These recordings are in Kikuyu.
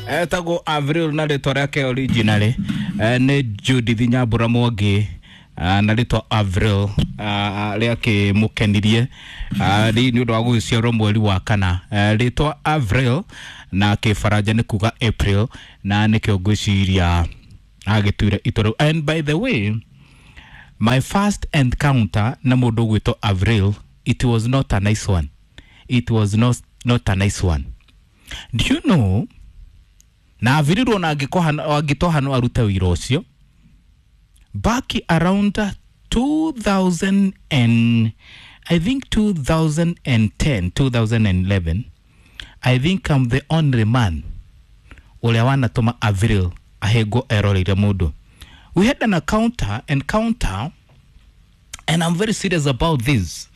Etagwo Avril na rĩtwa rĩake originally nĩ Judith Nyambura Mwangi, na rĩtwa Avril rĩakĩmũkenirie nĩ ũndũ wa gũgĩciarwo mweri wa kana. Rĩtwa Avril na kĩbaranja nĩ kuga April, na nĩkĩo ngwĩciria agĩtuire itua rĩu. And by the way, my first encounter na mũndũ ũgwĩtwo Avril, it was not a nice one. It was not a nice one. Do you know, na Avril ona angĩtoha no arute wĩra ũcio. Back around 2000 and I think 2010, 2011, I think I'm the only man ũrĩa wanatũma Avril ahĩngwo eroreire mũndũ. We had an encounter, and I'm very serious about this.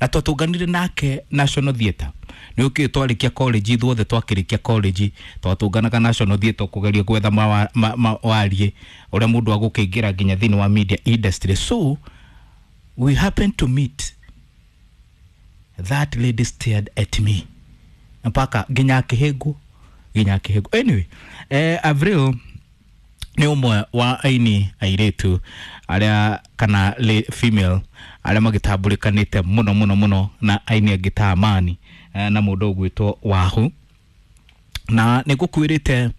Na twatũnganire nake National Theatre. Nĩ ũkĩũĩ twarĩkia college, ithuothe twakĩrĩkia college twatũnganaga National Theatre kũgeria gwetha mawarie ũrĩa mũndũ agũkĩingĩra nginya thĩinĩ wa media industry. So we happened to meet. That lady stared at me mpaka nginya akĩhĩngwo, nginya akĩhĩngwo. Anyway, Avril nĩ ũmwe wa aini airĩtu arĩa kana female arĩa magĩtambũrĩkanĩte mũno mũno mũno na aini angĩ ta Amani na mũndũ ũgwĩtwo Wahu. Na nĩ ngũkwĩrĩte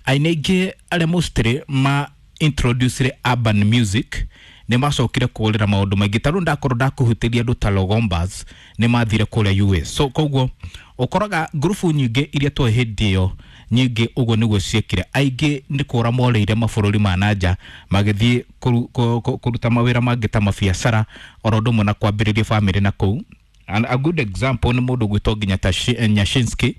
aini aingĩ arĩa mostly ma introduced urban music nĩ macokire kũrĩra maũndũ maingĩ. Ta rĩu ndakorwo ndakũhutĩria andũ ta Logombas nĩ mathire kũrĩa US. So koguo ũkoraga ngurubu nyingĩ iria twoĩ hĩndĩ ĩyo nyingĩ ũguo nĩguo ciekire. Aingĩ nĩ kũra morĩire mabũrũri ma nanja magĩthiĩ kũruta mawĩra mangĩ ta mabiacara oro ũndũ ũmwe na kwambĩrĩria bamĩrĩ na kũu. And a good example nĩ mũndũ ũgwĩtwo nginya ta Nyashinski,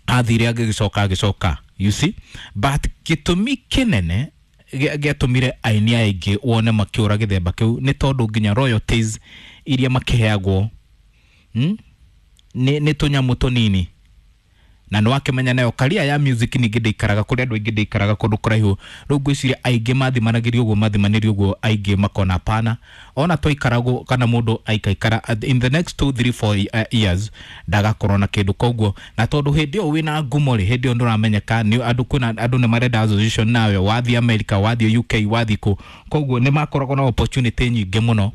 athire agĩgĩcoka agĩcoka, you see. But gĩtũmi kĩnene gĩatũmire aini aingĩ wone makĩũra gĩthemba kĩu nĩ tondũ nginya royalties iria makĩheagwo, nĩ tũnyamũ tũnini. Na nĩ wakĩmenya nayo career ya music ningĩ ndĩikaraga kũrĩa andũ aingĩ, ndĩikaraga kũndũ kũraihu. Rĩu ngwĩciria aingĩ mathimanagĩrio ũguo, mathimanĩrio ũguo, aingĩ makona hapana, ona twaikaragwo kana mũndũ aikaikara in the next 2 3 4 years ndagakorwo na kĩndũ. Koguo na tondũ hĩndĩ ĩyo wĩna ngumo rĩ, hĩndĩ ĩyo ndũramenyeka nĩ andũ, kwĩna andũ nĩ marenda association nawe, wathiĩ America, wathiĩ UK, wathiĩ kũ, koguo nĩ makoragwo na opportunity nyingĩ mũno,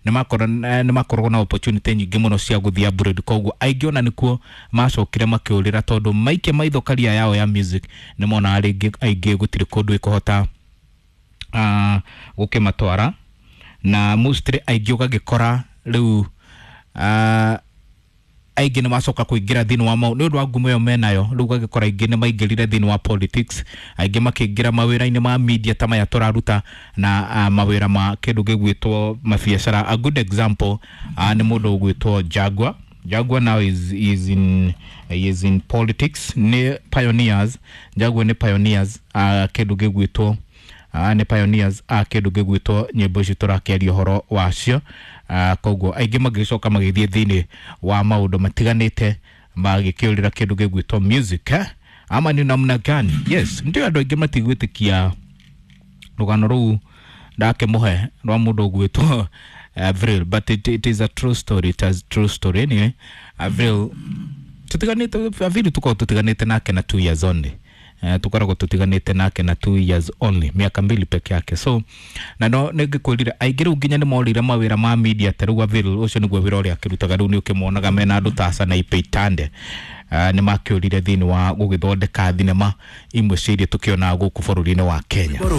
nĩ makoragwo na opportunity nyingĩ mũno cia gũthiĩ abroad. Koguo aingĩ ona nĩkuo macokire makĩũrĩra, tondũ maikia maitho career yao ya music nĩ monaga rĩngĩ aingĩ gũtirĩ kũndũ ĩkũhota gũkĩmatwara. Na mostly aingĩ ũgagĩkora rĩu aingĩ nĩ macoka kũingĩra thĩinĩ wa mau nĩ ũndũ wa ngumo ĩyo menayo. Rĩu ũgagĩkora aingĩ nĩ maingĩrire thĩinĩ wa politics, aingĩ makĩingĩra mawĩra-inĩ ma media ta maya tũraruta na mawĩra ma kĩndũ gĩgwĩtwo mabiacara. A good example nĩ mũndũ ũgwĩtwo Jaguar. Jaguar now is in politics. Nĩ pioneers, Jaguar nĩ pioneers kĩndũ gĩgwĩtwo nĩ pioneers a kĩndũ gĩgwĩtwo nyĩmbo ici tũrakĩaria ũhoro wacio. Koguo aingĩ magĩcoka magĩthiĩ thĩinĩ wa maũndũ matiganĩte magĩkĩũrĩra kĩndũ gĩgwĩtwo music, eh? Ama ni namna gani? Yes, ndio andũ aingĩ matigwĩtĩkia rũgano rũu ndakĩmũhe rwa mũndũ ũgwĩtwo Avril, but it is a true story. It is a true story. Anyway, Avril tutiganĩte, Avril tukoragwo tutiganĩte nake na 2 years only. Tukoragwo tutiganĩte nake na 2 years only, miaka 2 peke yake. So na no nĩngĩkwĩrire aingĩ rĩu nginya nĩ morĩire mawĩra ma media. Ta rĩu Avril ũcio nĩguo wĩra ũrĩa akĩrutaga. Rĩu nĩ ũkĩmonaga mena andũ ta Sanaipei Tande, nĩ makĩũrire thĩinĩ wa gũgĩthondeka thinema imwe cia iria tũkĩonaga gũkũ bũrũri-inĩ wa Kenya. Borwe.